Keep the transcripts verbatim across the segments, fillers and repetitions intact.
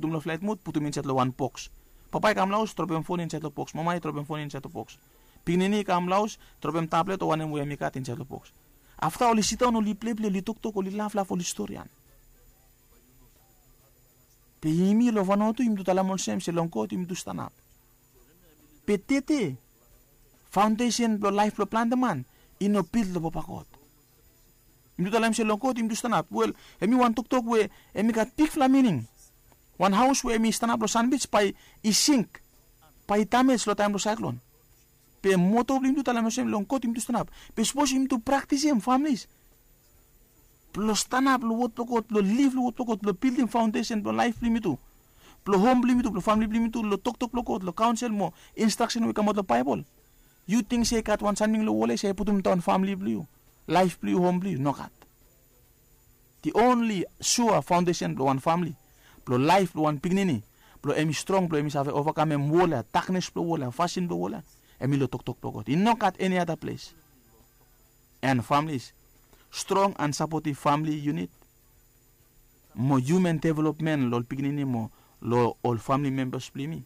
putum long flaet mud, putum insaed long wan boks. Papa i kam long haos, dropem fon insaed long boks. Mama i dropem fon insaed long boks. Pikinini i kam long haos, dropem tablet o wanem we hem i gat insaed long boks. Afta oli sidaon, oli pleple, oli toktok, oli laflaf, oli storian. Be yumi long Vanuatu yumi tu talem olsem se long God yumi tu stanap. Be tete, faondesen blong laef blong plante man i no bil long papa God. Yumi tu talem se long God yumi tu stanap. Wel, hem i wan toktok we hem i gat bigfala mining. Wan haos we hem i stanap long sanbij bae i sink, bae i damej long taem blong saeklon. Be moto blong yumi tu talem olsem long God yumi tu stanap. Be sapos yumi tu praktisim, familis, blong stanap long wod blong God, blong liv long wod blong God, blong bildim faondesen blong laef blong yumi tu, blong hom blong yumi tu, blong famle blong yumi tu, long toktok blong God, long kaonsel mo instraksen we i kamaot long Baebol. Yu ting se i gat wan samting long wol ya se i putum daon famle blong yu, laef blong yu, hom blong yu? Nogat. The only sua faondesen blong wan famle, blong laef blong wan pikinini, blong hem i strong, blong hem i save ovakamem wol ya, daknes blong wol ya, fasin blong wol ya, hem i long toktok blong God. I nogat eni ada ples. And families, strong and supportive family unit mo human development long ol pikinini mo long ol family members blong yumi,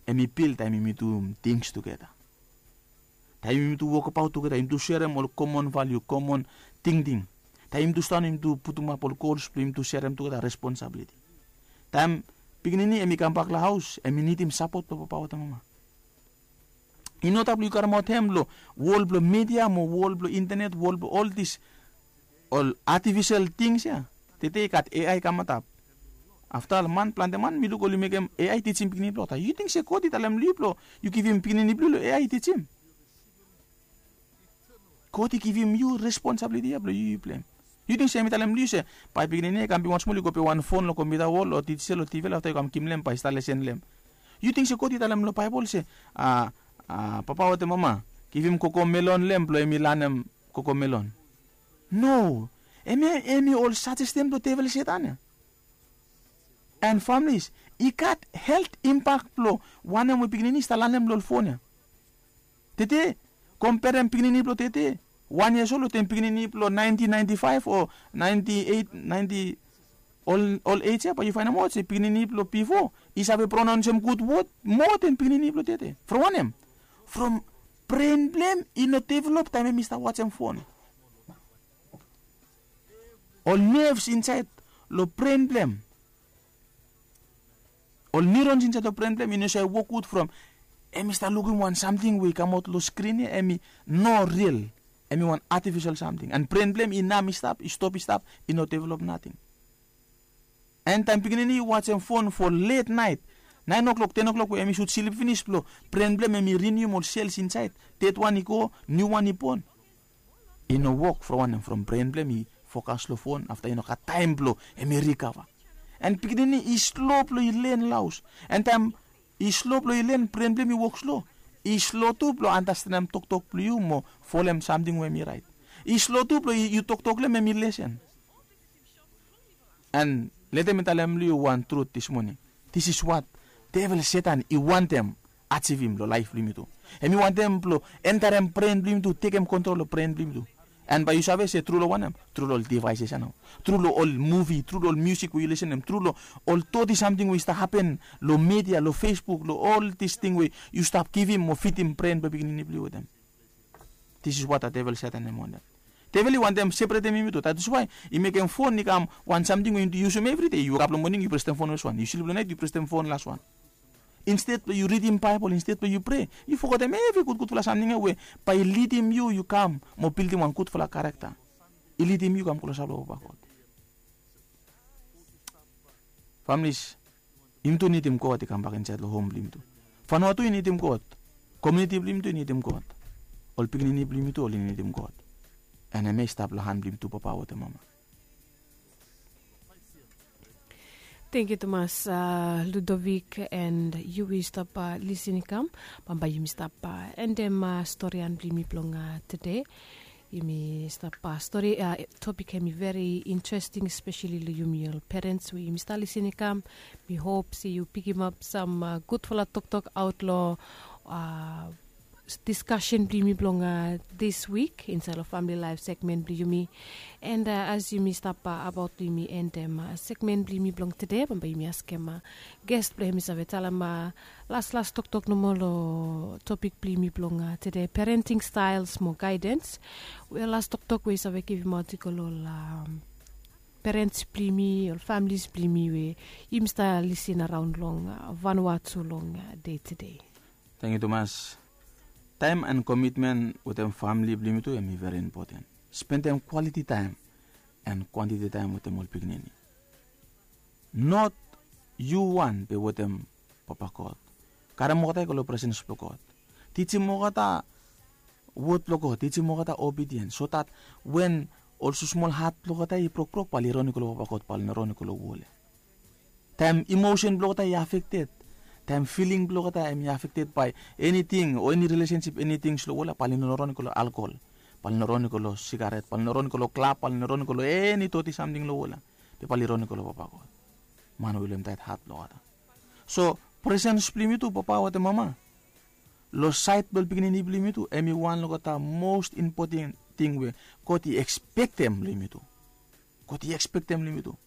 hem i bil taem yumi du tings tugeta. Taem yumi tu wokbaot tugeta, yumi tu serem ol komon valiu, komon tingting. Taem yumi tu stanap, yumi tu putumap ol gols blong yumi tu serem tugeta, responsabiliti. Taem pikinini hem i kambak long haos, hem i nidim sapot blong papa wetem mama. I no stap long yu karemaot hem long wol blong midia mo wol blong intenet, wol blong ol dis ol atifisel tings ya. Tede i gat A I i kam antap. Afta ol man, plante man mi luk oli mekem A I i tijim pikinini blong olgeta. Yu ting se God i talem long yu blong yu givim pikinini blong yu long A I i tijim? God i givim yu responsabiliti ya blong yu, yu pleim. Yu ting se hem i talem long yu se bae pikinini ya i kam bigwan smol, yu go pem wan fon long kompiuta wol o dijital o T V, afta yu kam givim long hem bae i stap lesen long hem? Yu ting se God i talem long Baebol se, a, a, papa wetem mama, givim kokomelon long hem blong hem i lanem kokomelon? No. Hem i, hem i ol sajestin blong devel Setan ya. And families, i gat helt impak blong wanem we pikinini i stap lanem long ol fon ya. Tede, komperem pikinini blong tede, wan yias ol wetem pikinini blong naentin naenti faef o naenti eit, naenti, ol, ol ej ya, bae yu faenemaot se pikinini blong bifo i save pronaonsem gud wod moa den pikinini blong tede. From wanem? From bren blong hem i no develop taem hem i stap wajem fon. Ol nerves insaed long bren blong hem, ol neurons insaed long bren blong hem i no save wok gud from hem i stap lukim wan samting we i kamaot long skrin ya, hem i no ril. Hem i wan atifisel samting. And bren blong hem i nam i stap, i stop i stap, i no develop nating. And taem pikinini i wajem fon fo let naet, naen o'clock, ten o'clock, we hem i sud slip finis blong bren blong hem hem i rinium ol sels insaed, dedwan i go, niuwan i bon. I no wok from wanem? From bren blong hem i fokas long fon, afta i no gat taem blong hem i rikava. And pikinini i slo blong i len long haos. And taem i slo blong i len, bren blong hem i wok slo. I slo tu blong andastanem toktok blong yu mo folem samting we hem i raet. I slo tu blong yu toktok long hem, hem i lesen. And letem mi talem long yu wan trut dis moning. This is what devel Setan i wantem ajivim long laef blong yumi tu. Hem i wantem blong entarem bren blong yumi tu, tekem kontrol long bren blong yumi tu. And bae yu save se tru long wanem? Tru long ol devaeses ya nao. Tru long ol muvi, tru long ol miusik we yu lisenem, tru long ol doti samting we i stap hapen long midia, long Facebook, long ol dis ting we yu stap givim mo fidim bren blong pikinini blong yu wetem. This is what the devil Setan hem wantem. Devel i wantem separetem yumi tu. That is why i mekem fon i kam wan samting we yumi tu yusum evri dei. Yu wokap long moning, yu presem fon olsem wan. Yu slip long naet, yu presem fon laswan. Insted blong yu ridim Baebol, insted blong yu prea, yu fogetem evri gudgudfala samting ya we bae i lidim yu, yu kam mo bildim wan gudfala karakta. I lidim yu kam klosap long Papa God. Familis, yumi tu nidim God i kambak insaed long hom blong yumi tu. Fanua tu i nidim God. Komuniti blong yumi tu i nidim God. Ol pikinini blong yumi tu oli nidim God. And hem ya i stap long han blong yumi tu, papa wetem mama. Tangkiu tumas, a, Ludovic, and yu we yu stap, a, lisin i kam. Bambae yumi stap, a, endem, a, storian blong yumi blong, a, tede. Yumi stap, a, stori, a, topik hem i veri interesting, espeseli long yumi ol perens we yumi stap lisin i kam. Mi hop se yu pikimap sam, a, gudfala toktok aot long, a, diskasen blong yumi blong dis wik insaed long famili laef segmen blong yumi. And as yumi stap abaot blong yumi endem segmen blong yumi blong tede, bambae yumi askem ges blong hem i save talem laslas toktok nomo long topik blong yumi blong tede, parenting staels mo gaedens. We las toktok we i save givimaot i go long ol parents blong yumi, ol familis blong yumi we yumi stap lisin araon long vanua tu long dei tede. Tangkiu tumas. Taem and komitmen wetem famili blong yumi tu hem i veri impoten. Spendem kwaliti taem and kwantiti taem wetem ol pikinini. Not yu wan be wetem papa god. Karem olgeta i go long presens blong god. Tijim olgeta wod blong god, tijim olgeta obidien so dat wen ol susmol hat blong olgeta i brokbrok bae oli ron i go long papa god, bae oli no ron i go long wol ya. Taem imosen blong olgeta i afekted, taem filing blong olgeta hem i afekted bae eniting o eni rilesensip, enitings long wol ya, bae oli no ron i go long alkol, bae oli no ron i go long sigaret, bae oli no ron i go long klab, bae oli no ron i go long eni toti samting long wol ya. Be bae oli ron i go long papa god, man we i lem taet hat blong olgeta. So presens blong yumi tu papa wetem mama long saed blong ol pikinini blong yumi tu hem i wan long olgeta mos impoten ting we god i ekspektem long yumi tu. God i ekspektem long yumi tu.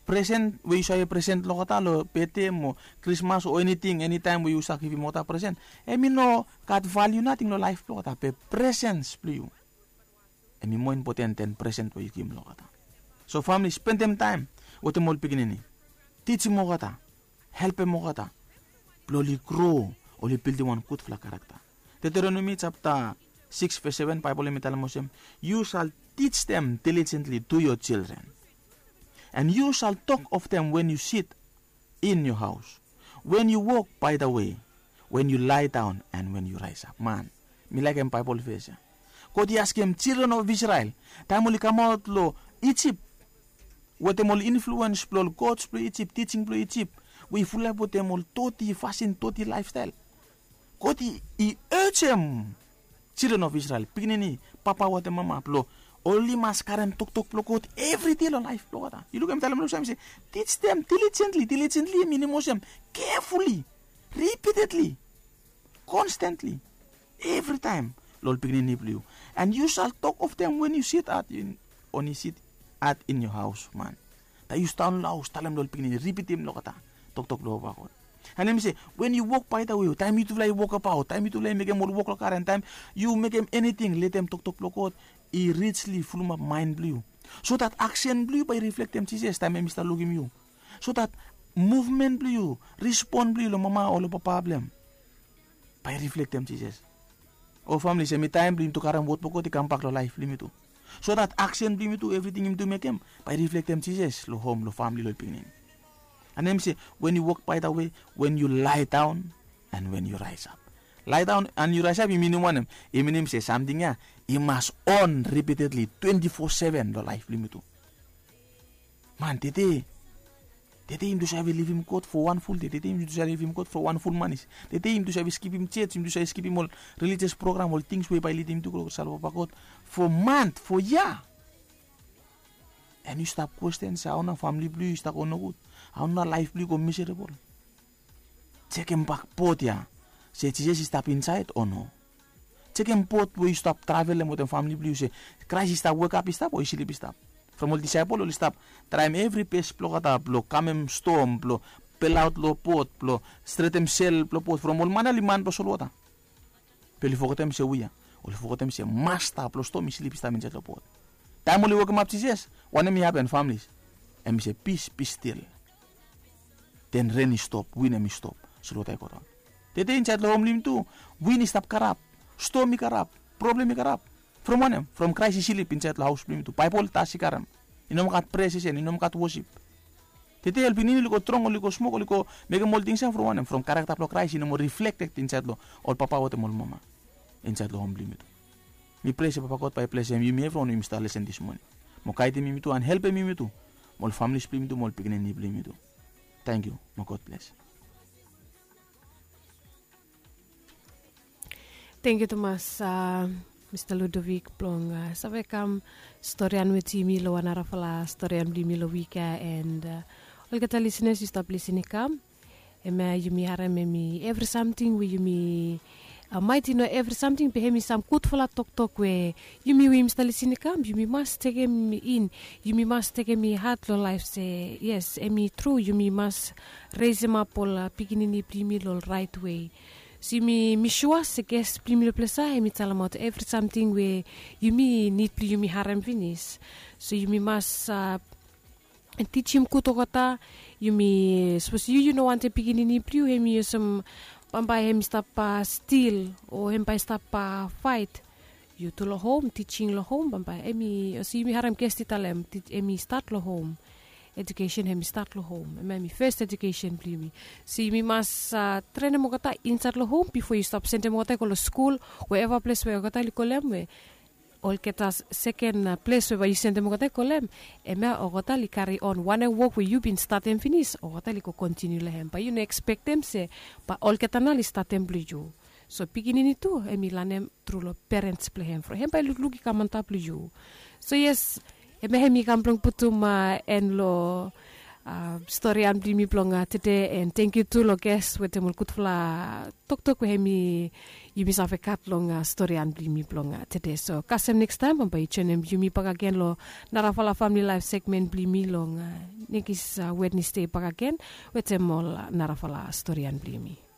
Presen we yu save presen long olgeta long bete mo krismas o eniting, enitaem we yu save givim olgeta presen, hem i no gat valiu nating long laef blong olgeta, be presens blong yu hem i moa impoten den presen we yu givim long olgeta. So famili, spendem taem wetem ol pikinini. Tijim olgeta, helpem olgeta blong oli gro, oli bildim wan gudfala karakta. Deteronomi japta sikis ves seven, Baebol hem i talem olsem, "You shall teach them diligently to your children, and you shall talk of them when you sit in your house, when you walk by the way, when you lie down, and when you rise up." Man, mi laekem Baebol ves ya. God i askem children of Israel, taem oli kamaot long Ijip, wetem ol influens blong ol gods blong Ijip, tijing blong Ijip, we i fulap wetem ol toti fasin, toti laefstael. God i, i ejem children of Israel, pikinini, papa wetem mama, blong oli mas karem toktok blong God evri dei long laef blong olgeta. Yu lukim, talem long sam se, "Teach them diligently." Diligently i minim olsem, carefully, repeatedly, constantly, evritaem long ol pikinini blong yu. "And you shall talk of them when you sit at in, when you sit at in your house, man." Taem yu sidaon long haos, talem long ol pikinini, ripitim long olgeta toktok blong papa God. And hem i se, "When you walk by the way," taem yutufala i wokabaot, taem yutufala i mekem ol wok long garen, taem yu mekem eniting, letem toktok blong God i richly fulumap maen blong yu, so dat aksen blong yu bae i riflektem Jisas taem hem i stap lukim yu, so dat muvmen blong yu, rispon blong yu long mama o long papa blong hem bae i riflektem Jisas. O famili, se mi taem blong yumi tu karem wod blong God i kambak long laef blong yumi tu, so dat aksen blong yumi tu, evriting yumi tu mekem, bae i riflektem Jisas long hom, long famili, long pikinini. And hem i se, "When you walk by the way, when you lie down, and when you rise up." Lie down and you rise up i minim wanem? I minim se samting ya i mas on repeatedly, twenti fo seven long laef blong yumi tu. Man, tede, tede yumi tu save livim God fo wan ful dei. Tede yumi tu save livim God fo wan ful manis. Tede yumi tu save skipim jej, yumi tu save skipim ol relijios program, ol tings we bae i lidim yumi tu go long save papa God fo mant, fo yia. And yu stap kwesten se hao nao famili blong yu i stap go nogud, hao nao laef blong yu i go miserabol. Jekem bak bod ya, se Jisas i stap insaed o no? Jekem bod we yu stap travelem wetem famili blong yu, se Kraes i stap wekap i stap o i slip i stap? From ol disaepol oli stap traem evri bes blong olgeta blong kamem stom, blong belaot long bod, blong stretem sel blong bod, from ol man ya oli man blong solwota. Be oli fogetem se we ya, oli fogetem se masta blong stom i slip i stap insaed long bod. Taem oli wokemap Jisas, wanem i hapen, famili? Hem i se, "Peace, be still." Den ren i stop, win hem i stop, solwota i godaon. Tede insaed long hom blong yumi tu, win i stap karap, stom i karap, problem i karap. From wanem? From Kraes i slip insaed long haos blong yumi tu. Baebol tas i karem. I no moa gat prea sesen, i no moa gat wosip. Tede ol pikinini oli go drong, oli go smok, oli go mekem ol tings ya from wanem? From karakta blong Kraes i no moa riflekted insaed long ol papa wetem ol mama insaed long hom blong yumi tu. Mi prea se papa God bae i blesem yumi evriwan we yumi stap lesen dis moning, mo gaedim yumi tu and helpem yumi tu, mo ol familis blong yumi tu, mo ol pikinini blong yumi tu. Tangkiu, mo God bles. Tangkiu tumas, Mista Ludovik, blong save kam storian wetem yumi long wan narafala storian blong yumi long wik ya. And olgeta lisenas, yu stap lisin i kam, hemia yumi harem hemi evri samting we yumi maet i no evri samting be hem i sam gudfala toktok we yumi we yumi stap lisin i kam, yumi mas tekem in, yumi mas tekem i hat long laef se yes, hem i tru, yumi mas resemap ol pikinini blong yumi long raet wei. So yumi mi sua se ges blong yumi long ples ya hem i talemaot evri samting we yumi nid blong yumi harem finis. So yumi mas tijim gud olgeta. Yumi sapos yu yu no wantem pikinini blong yu hem i olsem bambae hem i stap stil o hem bae i stap faet. Yu tu long hom, tijing long hom bambae hem i olsem yumi harem gesti talem hem i stat long hom. Ejukesen hem i stat long hom hem hem i fes ejukesen blong yumi. So yumi mas trenem olgeta insaet long hom bifo yu stap sendem olgeta i go long skul, we eva ples we olgeta oli kolem we olgeta seken ples we bae yu sendem olgeta i kolem, hemia olgeta oli kari on wanem wok we yu bin statem finis olgeta oli go kontiniu long hem bae yu no ekspektem se bae olgeta nao oli statem blong yu. So pikinini tu hem i lanem tru long perens blong hem from hem bae i lukluk i kam antap long yu. So yes, hemia hem i kam blong putum en long storian blong yumi blong tede. En tengkiu tu long ges wetem ol gudfala toktok we hem i yumi save gat long storian blong yumi blong tede. So kasem nekstaem bambae yu joenem yumi bakagen long narafala famili laef segmen blong yumi long nekis wednesde bakagen wetem ol narafala storian blong yumi.